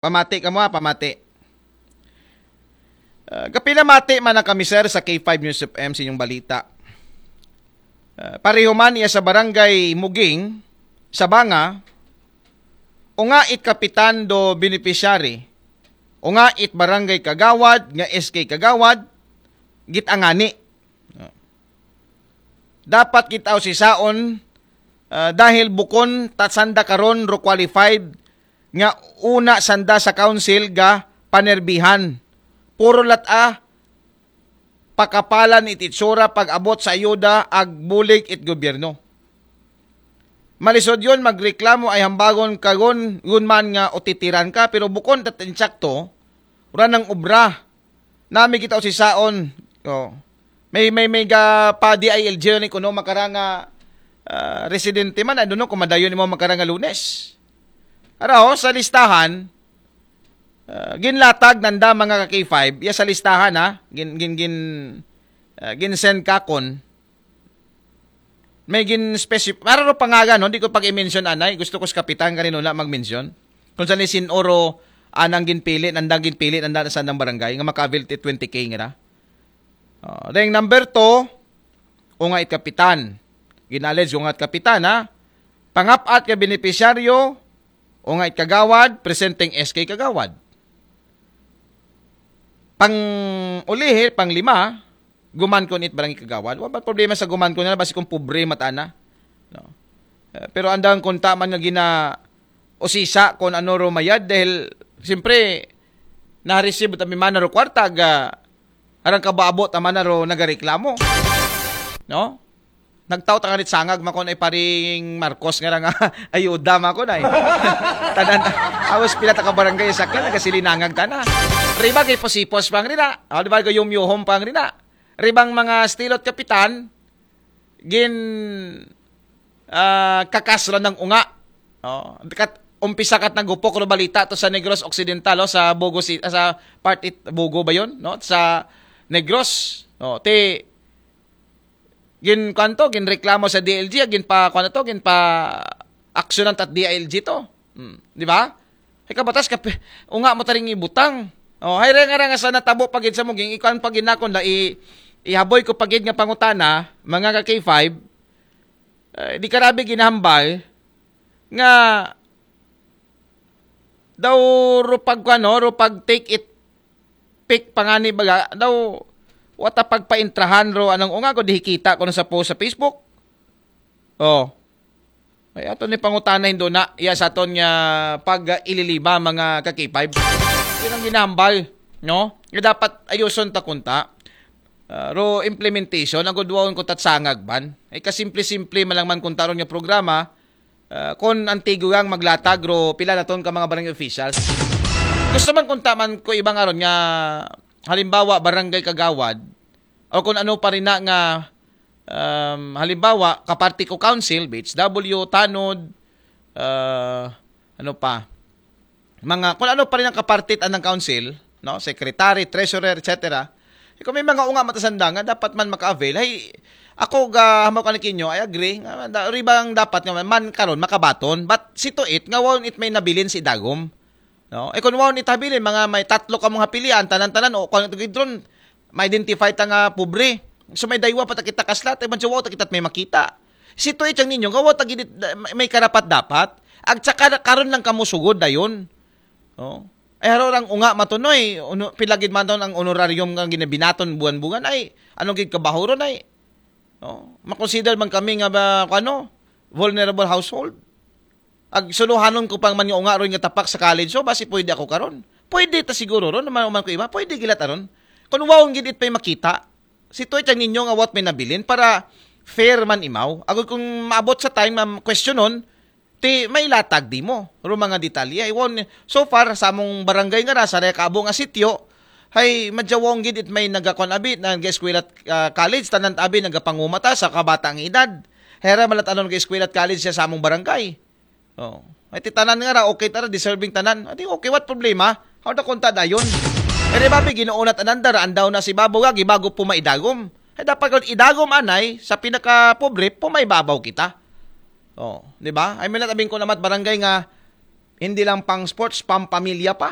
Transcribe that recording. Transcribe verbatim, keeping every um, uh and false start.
Pamati ka mo, ha? Pamati. Ah, kapinamati man na kami, sir, sa K five News F M sa inyong balita. Ah, pareho man iya sa Barangay Muging, Sabanga, unga it kapitan do beneficiary, unga it barangay kagawad nga S K kagawad, git-angani. Dapat kita usisaon, ah, dahil bukon ta sanda karon ro qualified nga una sanda sa council ga panerbihan. Puro lat-a pakapalan it itsura pag-abot sa ayuda ag bulig it gobyerno. Malisod yon magreklamo ay hambagon kagon yun man nga utitiran ka, pero bukon tat insakto, ura ng obra. Nami kita usisaon. Oh. May, may, may ga pa D I L G ni kuno makaranga, ah, residente man, I don't know kung madayon mo makaranga Lunes. Ara ho, sa listahan, ah, ginlatag nanda mga ka K five, ya sa listahan ha, gin, gin, gin, ah, gin-send kakon. May gin specific, para ro pangaga, no? Di ko pag-i-mention anay, gusto ko sa kapitan kanino na mag-mention. Kung saan ni sin oro anang ginpili, nandang ginpili, nanda sa nang barangay, nga makabil ti twenty K nga na. Ah, then number two, unga it kapitan. Ginalej, unga it kapitan, ha? Pangapat ka beneficiaryo, unga it kagawad, presenteng S K kagawad. Pang ulihi, pang lima, guman ko nit barangay kagawad. Wa ba problema sa guman ko na, basi kung pobre matana. No? Eh, pero andang kunta man nga gina usisa kung ano ro mayad dahil, siyempre, na-receive ta mi man ro kwarta, ga, arang kabaabot ta man ro nagareklamo. No? Nagtaw ta nga nit sangag, makon ay paring Marcos nga nga ayuda, makon ay. Tanan, awas pila ta ka barangay sa kaya, nagasilinangag ta na. Riba kay posipos pang rina. O, di ba, kay yumyuhom pang rina. Ribang mga stilot kapitan, gin, ah, kakasro ng unga. O, kat, umpisa kat nagupok ro balita to sa Negros Occidental, o, sa Bogo Ci-, sa part it, Bogo ba yun? No? Sa Negros. O, ti, gin, kwanto, gin reklamo sa D L G, gin pa, kwanto to, gin pa aksyonan tat D I L G to. Hmm, di ba? Ay kabatas ka, pe-, unga mo taring ibutang. O, hay renga renga sa natabo pagid sa muging, ikuan pagid nakon da, i-, ihaboy ko pagid nga pangutana, mga ka K five, eh, di karabi ginahambal, nga, daw ro pag, ano, ro pag take it pic pangani baga, daw, wata pagpaintrahan ro, anong unga ko, di hikita ko na sa post sa Facebook. O. Ay, ato ni pangutana hindo na, iya sa aton nga pag-ililiba, mga ka K five. Yun ang ginahambal, no? Nga dapat ayuson ta kunta. Ah, ro implementation, ang gudwaon ko tatsangag ban. Ay, kasimple-simple man lang man kunta ron nga programa, ah, kung antigo yang maglatag, ro pila na ton ka mga barangay officials. Gusto man kunta man ko ibang aron nga, halimbawa, barangay kagawad, o kung ano pa rin na nga, um, halimbawa, kaparti ko council, B H W, tanod, ah, ano pa, mga, kung ano pa rin ang kapartit anang council, no? Secretary, treasurer, et cetera. Eh, kung may mga unga matasanda nga, dapat man maka-avail. Ay, ako ga, hamaw ka ni Kinyo, I agree. Nga, da, ribang dapat nga man, karon makabaton. But, si Tuit, nga wawon it may nabilin si Dagom. No? Eh, kung wawon it habilin, mga may tatlo ka mong hapilian, tanan-tanan, o kung ito gidron, ma-identify ta nga pobre. So, may daywa pa ta kita kaslat, eh, man siya, wow, ta kita't may makita. Si Tuit ang ninyo, nga wow, ta gidit, may, may karapat dapat. Ag tsaka karon lang kamo sugod dayon. Oh. Ay, haro lang unga matunoy, uno, pilagid man ton ang honorarium nga ginabinaton buwan-buwan, ay, anong gid kabahuron, ay? Oh, makonsider man kami nga ba, ano, vulnerable household? Ag suluhanon ko pang man nga unga ron nga tapak sa college, so basi pwede ako karon. Pwede ta siguro ron, naman man ko iba, pwede gilat aron. Kung wawon gid it pa'y makita, si Tuit ang ninyo nga what may nabilin para fair man imaw. Agod kung maabot sa time, ma'am, questionon, ti may latag di mo. Ro mga detalye. Iwon, so far, sa among barangay nga ra, sa Rekabo nga sityo, hay, madyawong gid it may nagakon abi, nag-eskwela at, ah, college, tanan abi, nagapangumata sa kabatang edad. Hera malat ano nag-eskwela at college siya sa among barangay. Oh. Ay, ti tanan nga ra, okay tara, deserving tanan. Adi, okay, what problema? How na kunta dayon? Ere ba, ginoo na tanan, daraan daw na si Babo nga, gibago pumaidagom. Ay, dapat kung idagom, anay, sa pinaka-pobre, pumaibabaw kita. Oh, di ba? Ay, may natabing ko naman barangay nga, Hindi lang pang sports, pampamilya pa.